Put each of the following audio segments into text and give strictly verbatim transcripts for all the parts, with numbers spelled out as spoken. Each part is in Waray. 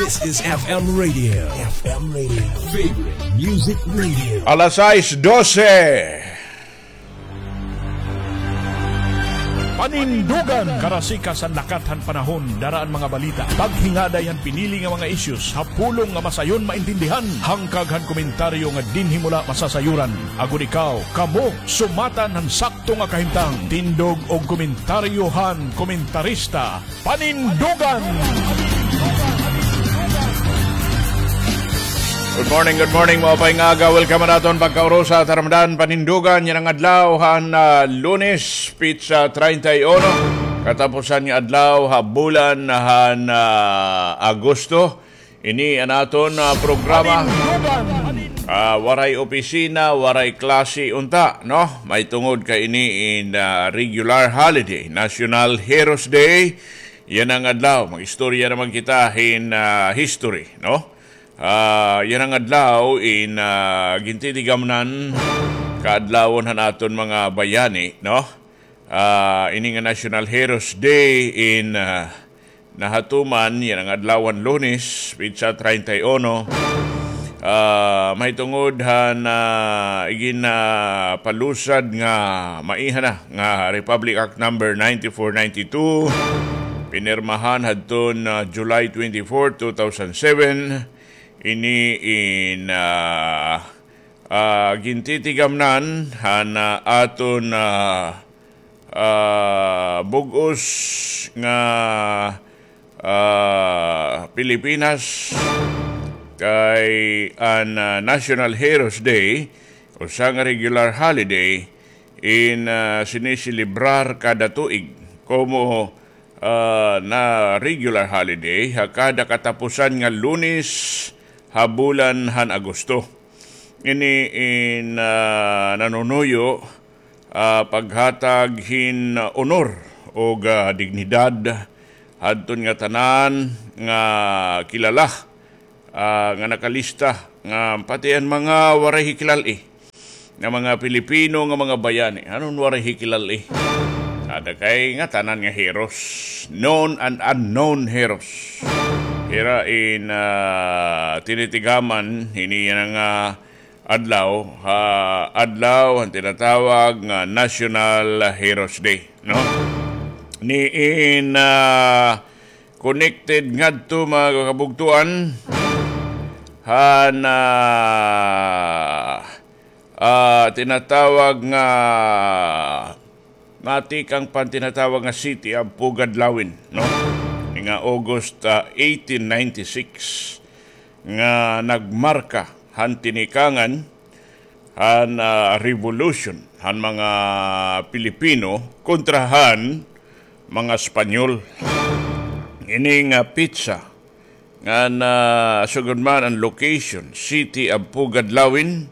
This is F M Radio. F M Radio. Favorite Music Radio. Alas sais dose. Panindugan. Karasikas han lakat han panahon, dara an mga balita, paghingaday han pinili nga mga issues ha pulong nga masayon maintindihan, hangkag han komentaryo nga dinhi mula masasayuran. Agod ikaw, kamo, sumatan han sakto nga kahimtang. Tindog og komentaryo han komentarista. Panindugan! Good morning, good morning, maupay nga aga. Welcome han aton pagkaurusa, taramdan, panindugan yana nga adlaw han, ah, Lunes, petsa treinta y uno. Katapusan nga adlaw ha bulan han, ah, Agosto. Ini an aton, ah, programa. Ah, waray opisina, waray klase unta, no? Mahitungod kay ini in, ah, regular holiday, National Heroes Day. Yana nga adlaw, mag-istorya naman kita hin, ah, history, no? Ah, yana nga adlaw in, ah, gintitigamnan kaadlawon han aton mga bayani, no? Ah, ini nga National Heroes Day in, ah, nahatuman yana nga adlaw han Lunes, petsa treinta y uno. Ah, mahitungod han, ah, igin, ah, palusad nga maiha na nga Republic Act number ninety-four ninety-two, pinirmahan hadton, ah, July twenty-four, two thousand seven. Ini in, ah, ah, gintitigamnan han, ah, aton, ah, ah, bug-os nga, ah, Pilipinas, kay an, ah, National Heroes Day, usa nga regular holiday, in, ah, siniselebrar kada tuig komo, ah, na regular holiday ha kada katapusan nga Lunes ha bulan han Agosto. Ini in, ah, nanunuyo, ah, paghatag hin honor ug, ah, dignidad hadton ngatanan nga kilala, ah, nga nakalista, nga pati an mga waray hikilal-i nga mga Pilipino nga mga bayani. Anon waray hikilal-i? Ada kay ngatanan nga heroes, known and unknown heroes. Hira in, ah, tinitigaman hini yana nga adlaw, ha adlaw han tinatawag nga National Heroes Day, no? Ni in, ah, connected ngadto, mga kabugtuan, han, ah, ah, tinatawag nga, natikang pan tinatawag nga City of Pugad Lawin, no? Nga August, ah, eighteen ninety-six, nga nagmarka han tinikangan han, ah, revolution han mga Pilipino kontra han mga Espanyol. Ini nga petsa ngan, ah, sugad man an location, City of Pugad Lawin,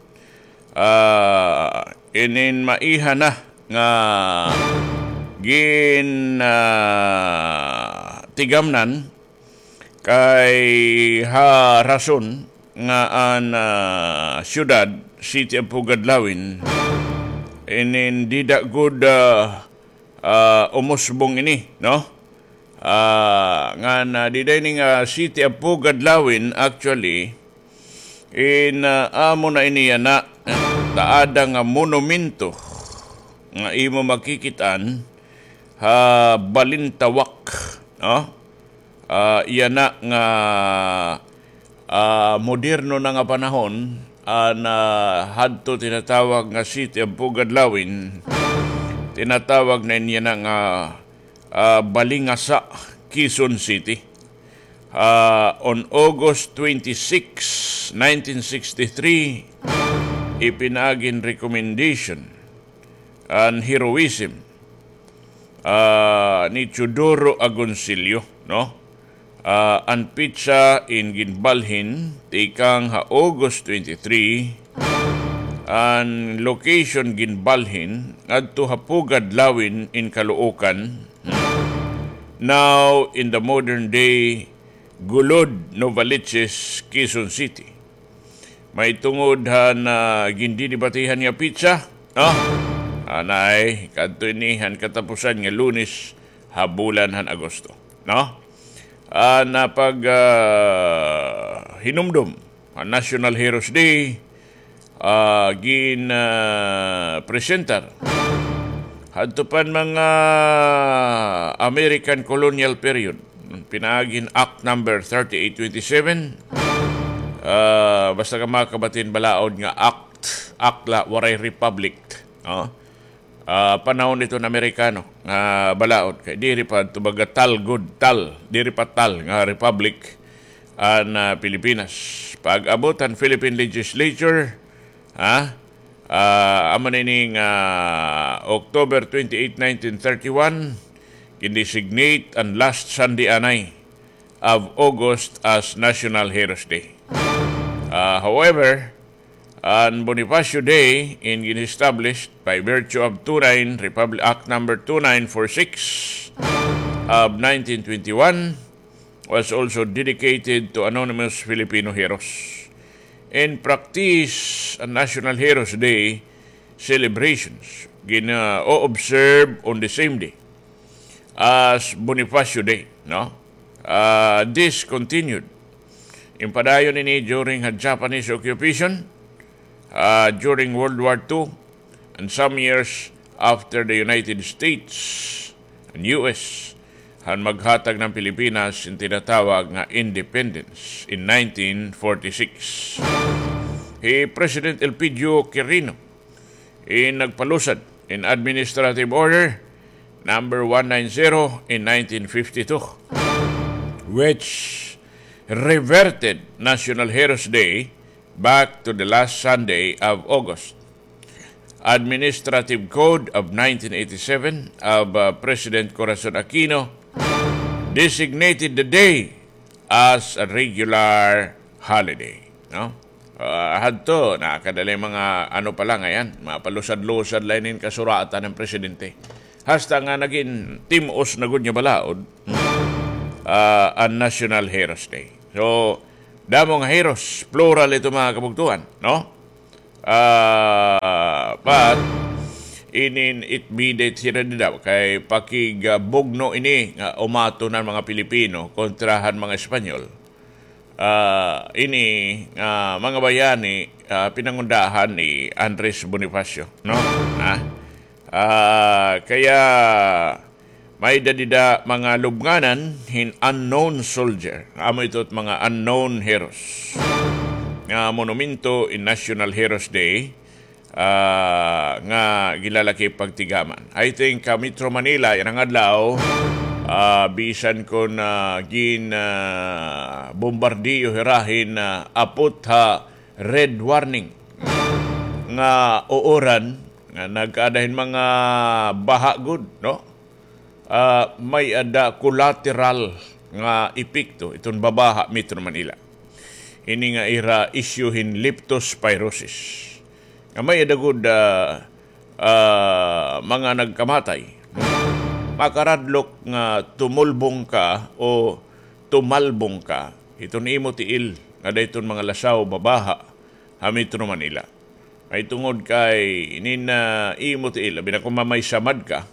ah, inin maiha na nga gin, ah, tigamnan kay ha rason nga an, ah, syudad, City of Pugad Lawin, inin dida gud, ah, ah, umusbong ini, no? Ah, ngan, ah, dida ini nga City of Pugad Lawin, actually, in, ah, amo na ini yana, taada nga monumento nga imo makikit-an ha Balintawak, no? Ah, yana nga, ah, moderno na nga panahon, an, ah, hadto tinatawag nga City of Pugad Lawin, tinatawag na ini yana nga, ah, Balingasa, Quezon City. Ah, on August twenty-six, nineteen sixty-three, ipinaagi hin recommendation an heroism, ah, ni Teodoro Agoncillo, no? Ah, an petsa in ginbalhin tikang ha August twenty-three, an location ginbalhin ngadto ha Pugad Lawin in Caloocan, now in the modern day Golod, Novaliches, Quezon City. Mahitungod han, ah, gindidebatehan nga petsa, no? Anay, kadto ini han katapusan nga Lunes ha bulan han Agosto, no? ah, na pag, ah, hinumdom an National Heroes Day, ah, gin, ah, presentar hadto pa han mga American colonial period. Pinaagi hin Act number thirty-eight twenty-seven, ah, basta ka makabati hin balaod nga act, act la, waray republic, no? Ah, panahon hiton Amerikano nga balaod. Kay diri pa ito baga tal gud, tal. Diri pa tal nga republic an, ah, Pilipinas. Pag-abot han Philippine Legislature, ha? Ah, amo na ini nga October twenty-eight, nineteen thirty-one, gin-designate an last Sunday anay of August as National Heroes Day. Ah, however, an Bonifacio Day in gin-established by virtue of two nine Republic Act number two nine four six of nineteen twenty-one was also dedicated to anonymous Filipino heroes. In practice, an National Heroes Day celebrations gina-observe on the same day as Bonifacio Day, no? Ah, this continued. Impadayon ini during ha Japanese occupation, ah, during World War Two, and some years after the United States and U S han maghatag han Pilipinas hin tinatawag nga independence in nineteen forty-six. Hi President Elpidio Quirino in nagpalusad hin Administrative Order number one nine zero in nineteen fifty-two, which reverted National Heroes Day back to the last Sunday of August. Administrative Code of nineteen eighty-seven of, uh, President Corazon Aquino designated the day as a regular holiday, no? Ah, hadto, nakadali mga ano pa la ngay-an, mga palusad-lusad la inin kasuratan han presidente. Hasta nga nagin tim-os na gud nga balaod, ah, an National Heroes Day. So, damo nga heroes, plural ito, mga kabugtuan, no? Ah, but inin it bidit hira dida kay pakig, ah, bugno ini nga umaton han mga Pilipino kontra han mga Espanyol. Ah, ini, ah, mga bayani, ah, pinangundahan ni Andres Bonifacio, no? Ah, ah, kaya may-ada dida mga lubnganan hin unknown soldier. Amo ito it mga unknown heroes nga monumento in National Heroes Day, ah, nga ginlalakip pagtigaman. I think, ah, Metro Manila yana nga adlaw, ah, bisan kon, ah, gin, ah, bombardiyo hira hin, ah, apot ha red warning nga uran nga nagkaada hin mga baha gud, no? Ah, may-ada collateral nga epekto iton babaha Metro Manila. Ini nga ira isyu hin leptospirosis. Nga may-ada gud, ah, ah, mga nagkamatay. Makaradlok nga tumulbong ka o tumalbong ka iton imo tiil nga dayton mga lasaw babaha ha Metro Manila. Mahitungod kay inin, ah, imo tiil, labi na kon mamaysamad ka,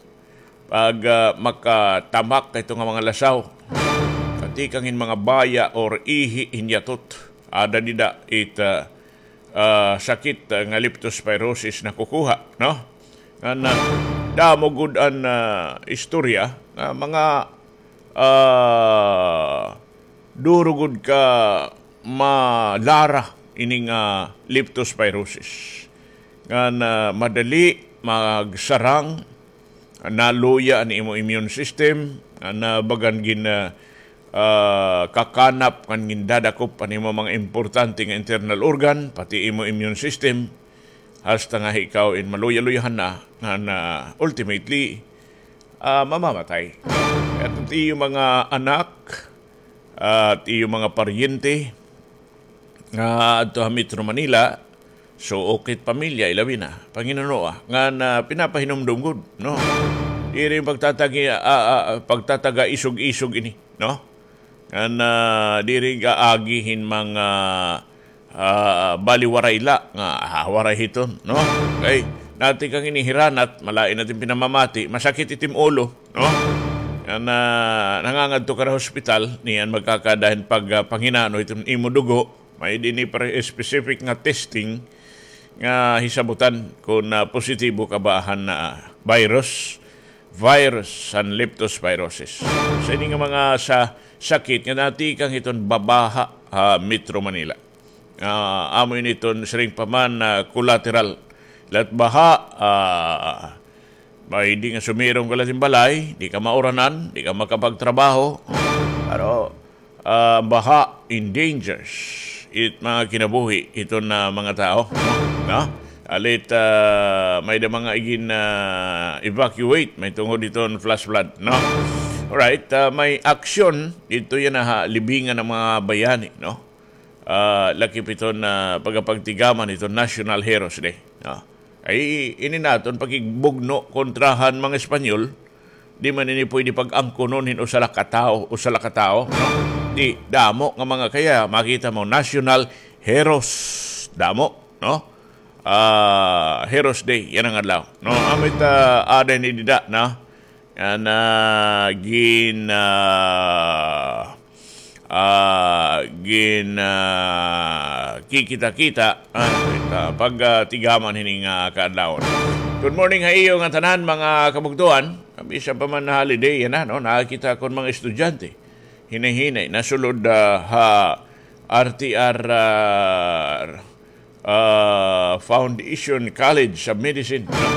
pag, ah, makatamak ka hito nga mga lasaw, katikang hin mga baya or ihi hin yatot, ada dida it, ah, ah, sakit, ah, nga leptospirosis nakukuha, no? Ngan, ah, damo gud an, ah, istorya nga mga, ah, duro gud ka malara ini nga leptospirosis. Ngan, ah, madali magsarang, naluya an imo immune system, ngan, ah, bagan gin, ah, ah, kakanap ngan gindadakop an imo mga importante nga internal organ, pati imo immune system, hasta nga ikaw in maluya-luyahan na, ngan, ah, ultimately, ah, mamamatay. At it iyo mga anak, at iyo mga paryente nga adto ha Metro Manila, suok it pamilya, ilabi na, panginanoa, ngan, ah, pinapahinumdom gud, no? Diri pagtatagi-, ah, ah, pagtataga isog-isog ini, no? Ngan, ah, diri gaagi hin mga, ah, baliwaray la nga, ah, waray hiton, no? Kay, natikang ini hiranat, malain natin pinamamati, masakit it im ulo, no? Nga na, nangangadto ka ha hospital, niyan magkakada hin pag, ah, panghinano iton imo dugo, may dinhi pa specific nga testing nga hisabutan kon, ah, positibo ka ba han, ah, virus, virus han leptospirosis. Sa ini nga mga sa, sakit nga natikang hiton babaha ha Metro Manila. Ah, amo ini iton siring pa man, ah, collateral. La't baha, ah, may di nga sumirong ka la hin balay, di ka mauranan, di ka makapagtrabaho. Pero, ah, baha endangers it mga kinabuhi iton, ah, mga tao, no? Alit, ah, may da mga igin, ah, evacuate, may tungod iton flash flood, no? Alright, ah, may aksyon didto yana ha libingan han mga bayani, no? Ah, lakip iton, ah, pagapagtigaman iton National Heroes Day, no? Ay, ini naton pakigbugno kontra han mga Espanyol, di man ini pwede pag-angkonon hin usa la ka tawo, usa la ka tawo, no? Di, damo nga mga kaya, makita mo, national heroes, damo, no? Ah, Heroes Day, yana nga adlaw, no? Amo it, ah, aada ini dida, no? Yana gin, ah, ah, gin, ah, kikita-kita, ah, it, ah, pag, ah, tigaman hini nga kaadlawon. Good morning ha iyo nga tanan, mga kabugtoan. Bisan pa man holiday yana, no? Nakakita ko hin mga estudyante. Hinay-hinay, nasulod, ah, ha R T R, ah, ah, Foundation College of Medicine, no?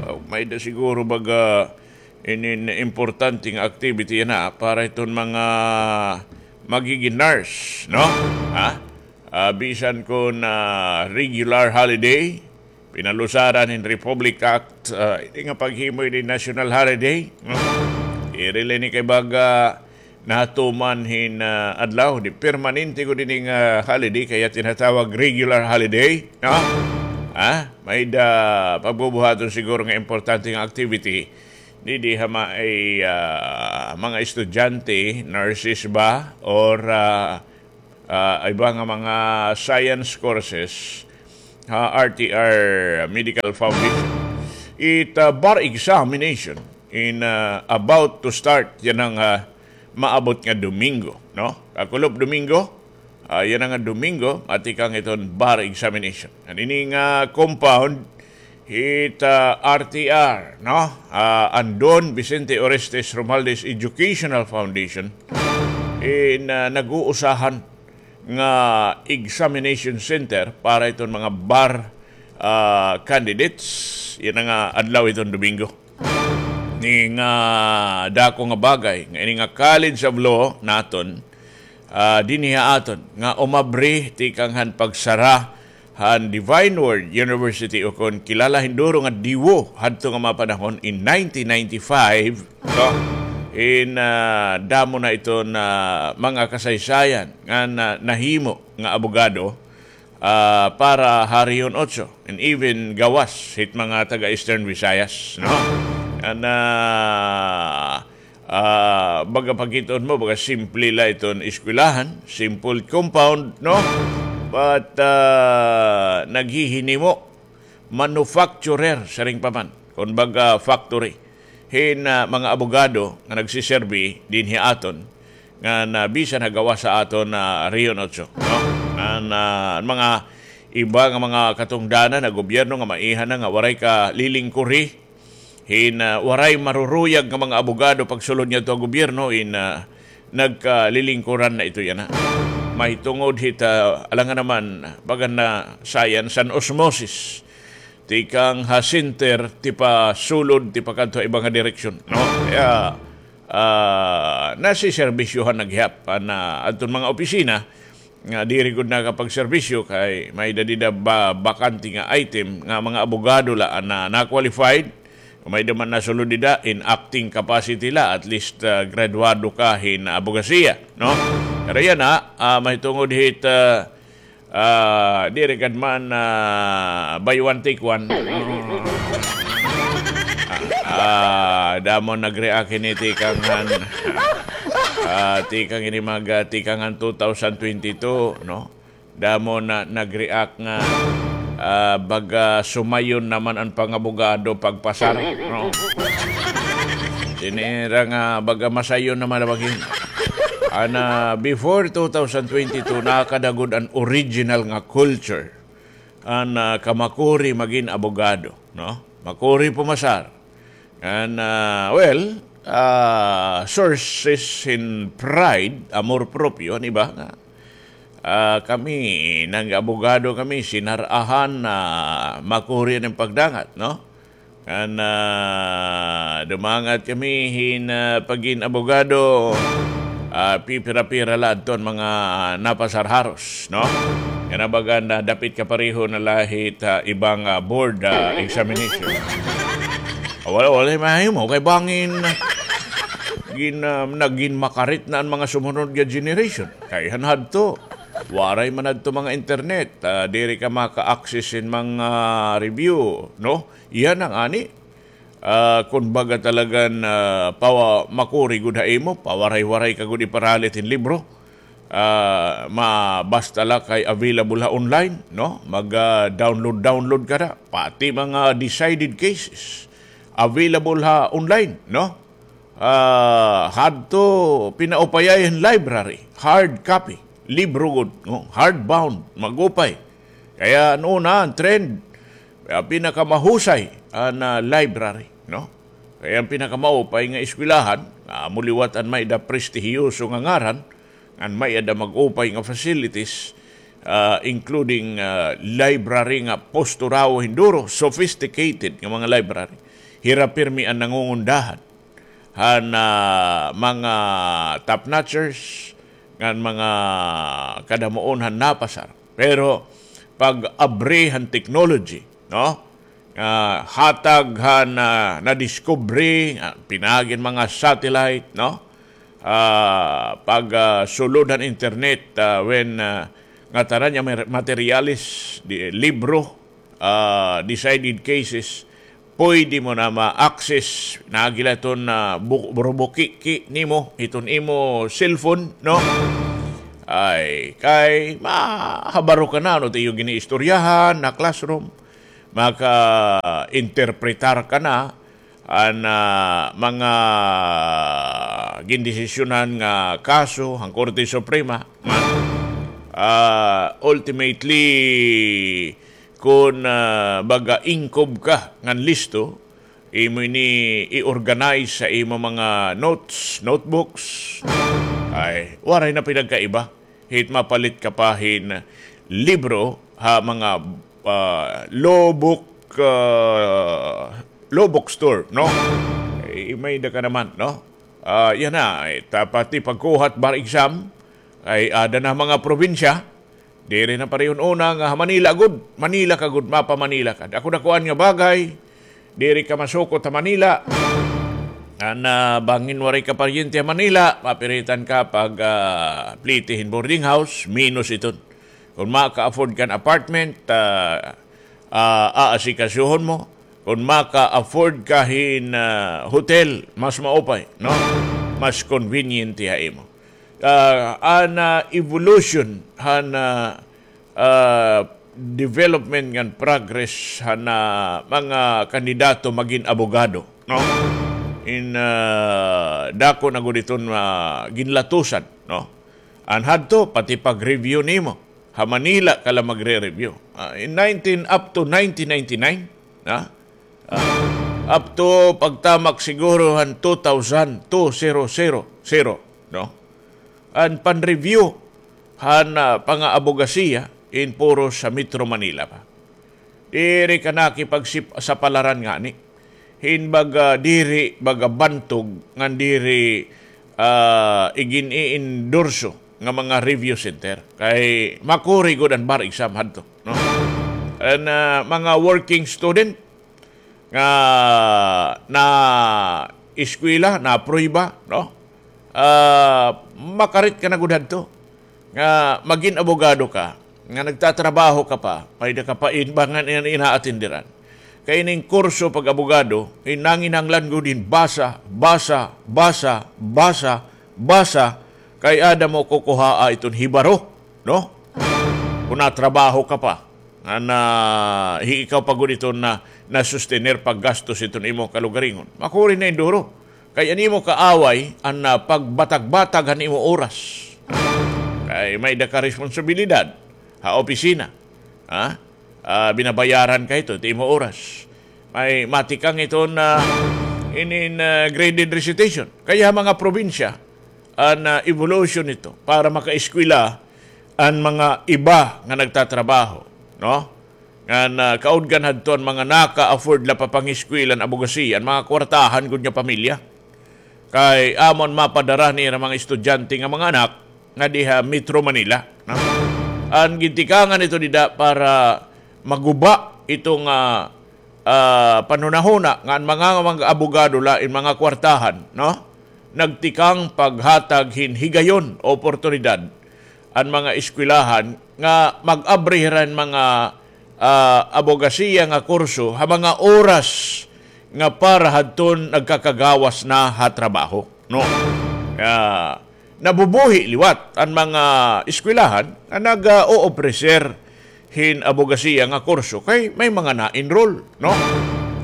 Ah, may da siguro baga inin importante nga activity yana para iton mga magigin nurse, no? Ha? Ah, bisan kon regular holiday, pinalusaran hin Republic Act, ah, ini nga paghimo ini national holiday, no? Diri la ini kay baga natuman hin, ah, adlaw, di permanente gud ini nga holiday, kaya tinatawag regular holiday, no? Ha? May da pagbubuhaton siguro nga importante nga activity. Didi ha may, ah, mga estudyante, nurses ba, or, ah, ah, iba nga mga science courses ha R T R Medical Foundation. It, ah, bar examination in, ah, about to start yana nga, ah, maabot nga Domingo, no? Kakulop Domingo, ah, yana nga Domingo, matikang iton bar examination. An ini nga compound, it, ah, R T R, no? Ah, an Don Vicente Orestes Romualdez Educational Foundation, in, ah, nag-uusahan nga examination center para iton mga bar, ah, candidates. Yana nga adlaw iton Domingo. Ini nga dako nga bagay nga ini nga College of Law naton, ah, dinhi ha aton nga umabri tikang han pagsara han Divine Word University, o kon kilala hin duro nga DIWU, hadto nga mga panahon in nineteen ninety-five, no? In, ah, damo na iton mga kasaysayan nga na, nahimo nga abogado, ah, para ha Rehiyon Otso, and even gawas hit mga taga Eastern Visayas, no? An, ah, ah, baga pagkit-on mo, baga simple la iton eskwelahan, simple compound, no? But, ah, naghihinimo, manufacturer, siring pa man, kon baga factory hin, ah, mga abogado nga nagsiserbi dinhi aton, ngan bisan ha gawas ha aton, ah, Rehiyon Otso, no? Ngan, ah, an mga iba nga mga katungdanan ha gobyerno nga maiha na nga waray kalilingkuri hin, ah, waray maruruyag nga mga abogado pagsulod ngadto ha gobyerno, in, ah, nagkalilingkuran na ito yana. Mahitungod hit, ah, alangan naman, bagan na science an osmosis. Tikang ha center, tipasulod, tipakadto ha iba nga direksyon, no? Kaya, ah, nasiserbisyohan na gihap an, ah, adton mga opisina nga diri gud nakapagserbisyo kay may-ada dida ba-, bakante nga item nga mga abogado la an na, na-qualified. May-ada man nasulod dida in acting capacity la, at least, ah, graduado ka hin abogasiya, no? Pero yana, ah, mahitungod hit, ah, ah, diri gad man, ah, buy one, take one. Ah, damo nag-react hini tikang han, ah, tikang ini mag, ah, tikang han two thousand twenty-two, no? Damo na nag-react nga, ah, baga sumayon naman an pangabogado pagpasar, no? Ini ra nga baga masayon naman na bagin. Ana, before two thousand twenty-two, nakada gud an original nga culture. An, ah, kamakuri magin abogado, no? Makuri pumasar. An, ah, well, ah, sources hin pride, amor propio, an iba nga, ah, kami, nag-abogado kami, sinar-ahan na makuri an pagdangat, no? An, ah, dumangat kami hin, ah, pagin abogado, ah, pipira-pira la adton mga napasar haros, no? Yana baga na dapit kapareho na la hit, ah, iba nga board, ah, examination. Ah, wala, wala mahimo kay bangin gin-, ah, nagin makarit na an mga sumunod nga generation. Kay han hadto, waray man adto mga internet, ah, diri ka maka-access hin mga review, no? Yana ngani, ah, kon baga talagan, ah, pawa-, makuri gud ha imo, pawaray-waray ka gud iparalit hin libro. Ah, ma-, basta la kay available ha online, no? Mag, ah, download, download ka na. Pati mga decided cases, available ha online, no? Ah, hadto pinaupayay hin library, hard copy, libro gud, no? Hardbound, mag-upay. Kaya an una, an trend, ah, pinakamahusay, an, ah, library, no? Kaya an pinakamaupay nga eskwelahan, ah, amo liwat an may-ada prestihiyoso nga ngaran, an may-ada mag-upay nga facilities, ah, including, ah, library nga posturawo hin duro, sophisticated nga mga library. Hira pirmi an nangungundahan han, ah, mga top-notchers, ngan mga kadamuon han napasar. Pero pag-abri han technology, no? Ah, hatag han, ah, nadiskubre, ah, pinaagi han mga satellite, no? Ah, pag, ah, sulod han internet, ah, when, ah, ngatanan nga mer-, materyales, di, libro, ah, decided cases, pwede mo na ma-access, naagi la iton, ah, bu-, burubukiki nimo, iton imo cellphone, no? Ay, kay mahabaro ka na, no, it iyo giniistoryahan ha classroom, maka-interpretar ka na, an, ah, mga gindesisyonan nga kaso han Korte Suprema, nga, ah, ultimately, kon, ah, baga ingkob ka ngan listo, imo ini i-organize ha imo mga notes, notebooks. Ay, waray na pinagkaiba hit mapalit ka pa hin libro ha mga, ah, law book, ah, law book store, no? Ay, may-ada ka naman, no? Ah, yana, ay, ta-, pati pagkuha hit bar exam, ay, ada na mga probinsya, diri na pareho hin una nga ha Manila gud, Manila ka gud, mapa-Manila ka. Dako-dakuan nga bagay, diri ka masukot ha Manila. An, ah, bangin waray ka paryente ha Manila, mapiritan ka pag, ah, plete hin boarding house, menos iton. Kon maka-afford ka hin apartment, ah, ah, aasikasuhon mo. Kon maka-afford ka hin, ah, hotel, mas maupay, no? Mas convenient ha imo. Ah, an, ah, evolution han, ah, ah, development ngan progress han, ah, mga kandidato magin abogado, no? In, ah, dako na gud iton, ah, ginlatusan, no? An hadto, pati pag-review nimo. Ha Manila ka la magre-review. Ah, in nineteen, up to nineteen ninety-nine, ha? Ah, up to pagtamak siguro han two thousand, two zero zero zero, no? An pan-review han, ah, pang-aabogasiya in puro sa Metro Manila pa. Diri ka nakipagsip-, sapalaran ngani. Hin baga diri, baga bantog, ngan diri, ah, igin-i-endorso nga mga review center. Kay makuri gud an bar exam hadto, no? An, ah, mga working student nga na-eskwela, na-aprueba, no? Ah, makarit ka na gud hadto nga magin abogado ka, nga nagtatrabaho ka pa, may-ada ka pa in-, ba nga in-, inaatindiran. Kay ining kurso pag-abogado, in nanginahanglan gud hin basa, basa, basa, basa, basa, kay ada mo kukuhaa iton hibaro, no? Kon natrabaho ka pa, nga na, hi-, ikaw pa gud iton na, nasustener paggastos iton imo kalugaringon. Makuri na in duro. Kay an imo kaaway an, ah, pagbatag-batag han imo oras. Kay may-ada ka responsibilidad ha opisina. Ha? Ah, binabayaran ka hito, it imo oras. May matikang iton, ah, inin, ah, graded recitation. Kay ha mga probinsya, an, ah, evolution nito para makaeskwela an mga iba nga nagtatrabaho, no? Ngan, ah, kaudgan hadto an mga naka-afford la pa pangeskwela han abogasiya, an mga kwartahan gud nga pamilya. Kay amo an mapadara nira mga estudyante nga mga anak nga diha Metro Manila, no? An gintikangan ito dida para maguba ito nga, ah, panhunahuna nga an mga, mga abogado la in mga kwartahan, no? Nagtikang paghatag hin higayon, oportunidad an mga eskwelahan nga mag-abri hira hin mga, ah, abogasiya nga kurso ha mga oras nga para hadton nagkakagawas na ha trabaho, no? Ah, nabubuhi liwat an mga eskwelahan nga nag, ah, o-ofrecer hin abogasiya nga kurso kay may mga na-enroll, no?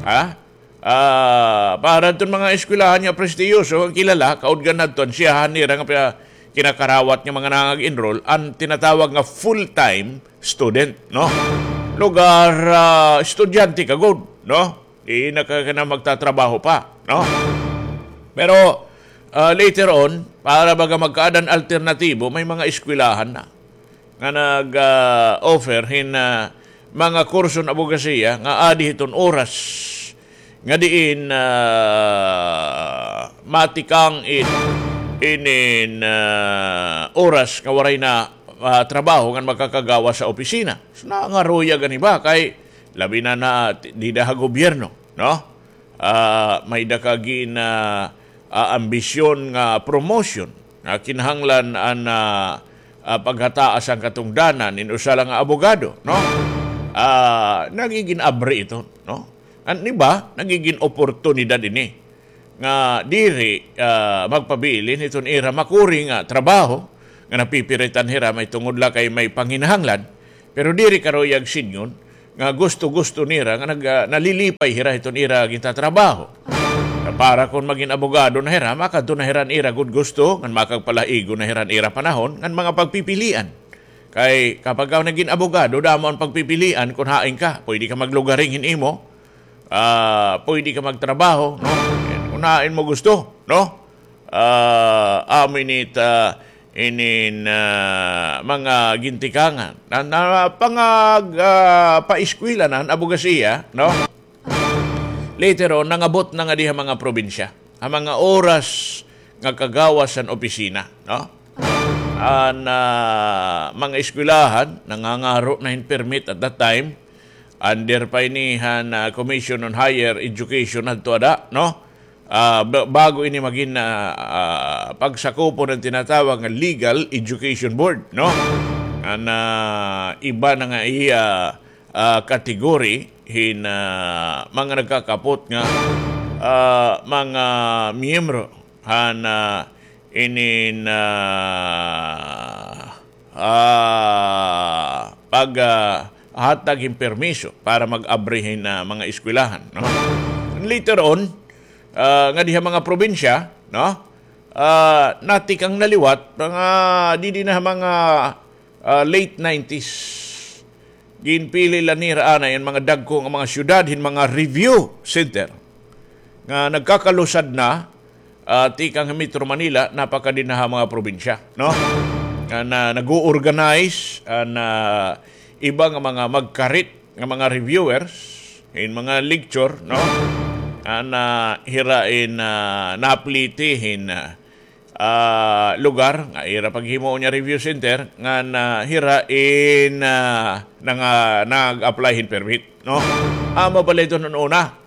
Ha? Ah, para hadton mga eskwelahan nga prestiyoso, nga kilala, kaudgan hadton, siyahan nira nga pa-, kinakarawat nga mga nangag-enroll, an tinatawag nga full-time student, no? Lugar, ah, estudyante ka gud, no? Di na ka, ka na magtatrabaho pa, no? Pero, ah, later on, para baga magkaada hin alternatibo, may mga eskwelahan na nga nag, ah, offer hin, ah, mga kurso hin abogasiya nga adi hiton oras nga diin, ah, matikang it, inin, ah, oras nga waray na, ah, trabaho ngan makakagawas ha opisina. So, nangaruyag an iba kay labi na na dida ha gobyerno, no? Ah, may-ada ka gin, ah, ah, ambisyon nga promotion nga kinahanglan an, ah, ah, paghataas an katungdanan in usa la nga abogado, no? Ah, nagigin abri ito, no? An iba, nagigin oportunidad ini nga diri, ah, magpabilin hiton ira makuri nga trabaho nga napipiritan hira mahitungod la kay may panginahanglan, pero diri karuyag sidngon nga gusto-gusto nira nga nag-, ah, nalilipay hira hiton ira gintatrabaho. Nga para kon magin abogado na hira, makadto na hira han ira gud gusto, ngan makagpalaigo na hira han ira panahon, ngan mga pagpipilian. Kay kapag ka nagin abogado, damo an pagpipilian kon hain ka. Pwede ka maglugaring hin imo, ah, pwede ka magtrabaho, no? Kon hain mo gusto, no? Ah, amo ini it, ah, inin, ah, mga gintikangan. Na, na, pangag-, ah, paeskwela na han abogasiya, no? Later on, nangabot na ngadi ha mga probinsya, ha mga oras nga kagawas han opisina, no? An, ah, mga eskwelahan, nangangaro na hin permit at that time, under pa ini han, ah, Commission on Higher Education hadto ada, no? Ah, ba-, bago ini magin, ah, ah, pagsakupon han tinatawag nga Legal Education Board, no? An, ah, iba na nga iya, ah, category hin, ah, mga nagkakapot nga, ah, mga miyembro han, ah, inin, ah, ah, pag, ah, hatag hin permiso para mag-abri hin, ah, mga eskwelahan, no? Later on, ah, ngadi ha mga probinsya, no? Ah, natikang na liwat, mga didi na ha mga, ah, late nineties. Ginpili la nira anay an mga dagko nga mga syudad hin mga review center nga nagkakalusad na, ah, tikang ha Metro Manila, napakadi na ha mga probinsya, no? Nga na, nag-o-organize an, ah, iba nga mga magkarit nga mga reviewers hin mga lecture, no? An, ah, hira in, ah, napliti hin, ah, ah, lugar nga ira paghimuon nga review center, ngan, ah, hira in, ah, nanga-, nag-apply hin permit, no? Amo pa la iton una.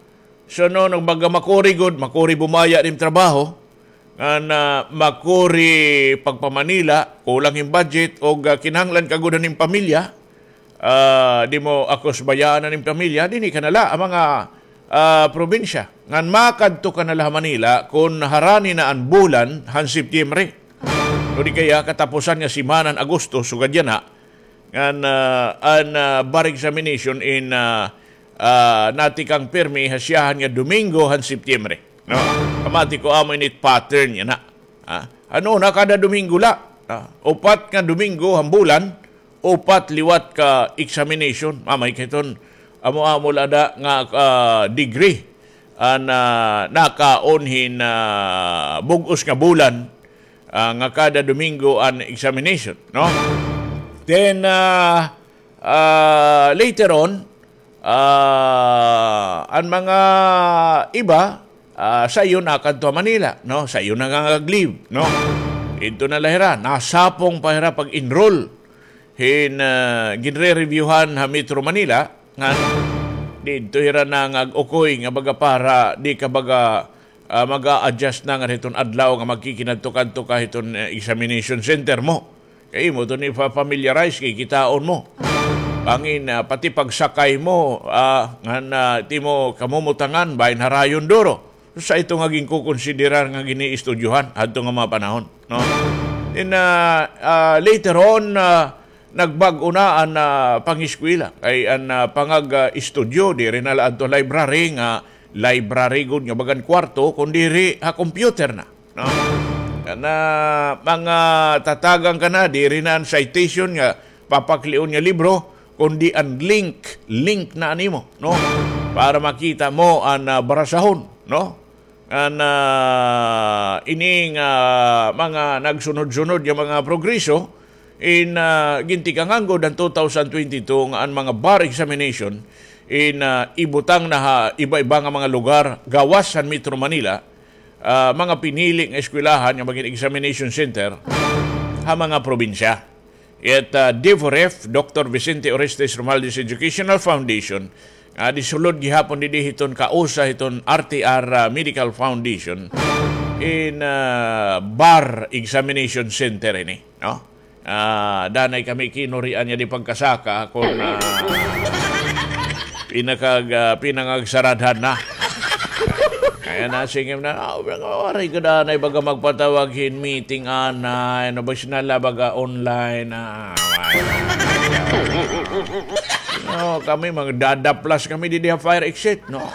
So, no, nagbaga makuri gud, makuri bumaya hin trabaho, ngan, ah, makuri pagpa-Manila, kulang hin budget, og, ah, kinahanglan ka gud hin pamilya, ah, di mo akusbayaan an im pamilya, dinhi ka na la ha mga, ah, probinsya. Ngan makadto ka na la ha Manila kon harani na an bulan han Setyembre. O di kaya katapusan nga semana han Agosto, sugad yana. Ngan, ah, an, ah, bar examination in, ah, ah, natikang pirmi ha siyahan nga Domingo han Setyembre. No? Pamati ko amo ini it pattern yana. Ah, ano na, kada Domingo la. Ah, upat nga Domingo han bulan, upat liwat ka examination. Mamay kay iton amo-amo la da nga, ah, degree an, ah, nakaon hin, ah, bug-os nga bulan, ah, nga kada Domingo an examination, no? Then, ah, ah, later on, ah, an mga iba, ah, sayo nakadto ha Manila, no? Sayo nangangag-leave, no? Didto na la hira, nasapong pa hira pag-enroll hin, ah, ginre-reviewhan ha Metro Manila, ngan didto hira nangag-ukoy nga baga para di ka baga, ah, mag-a-adjust na nga hiton adlaw nga magkikinadto-kadto ka hiton, ah, examination center mo. Kay imo iton ipa-familiarize kay kitaon mo. Bangin, ah, pati pagsakay mo, ah, ngan, ah, it imo kamumutangan, bangin harayon duro. Sa ito nga ginkukonsiderar nga gin-iistudyohan hadto nga mga panahon, no? Then, ah, ah, later on, ah, nagbag-o na an, ah, pangeskwela. Kay an, ah, pangag-, ah, estudyo, diri na la adto library nga library gud nga bagan kwarto, kun diri ha computer na, no? Kana mga tatagan ka na, diri na an citation nga papaklion nga libro, kundi an link, link na an imo, no? Para makita mo an, ah, barasahon, no? An, ah, ini nga mga nagsunod-sunod nga mga progreso, in, ah, gintikangan gud an two thousand twenty-two nga an mga bar examination in, ah, ibutang na ha iba-iba nga mga lugar gawas han Metro Manila, ah, mga pinili nga eskwelahan nga magin examination center ha mga probinsya. It, ah, DEVOREF, Doctor Vicente Orestes Romualdez Educational Foundation, nga disulod gihapon didi hiton kausa hiton R T R, ah, Medical Foundation, in, ah, bar examination center ini, no? Ah, danay kami kinurian niya di pagkasaka kon, ah, pinakag-, ah, pinangagsaradhan na. Kay nasingim na, ah, waray gud anay baga magpatawag hin meeting anay, no, basi na la baga online, ah, waray. No, kami, magdadaplas kami didi ha fire exit, no?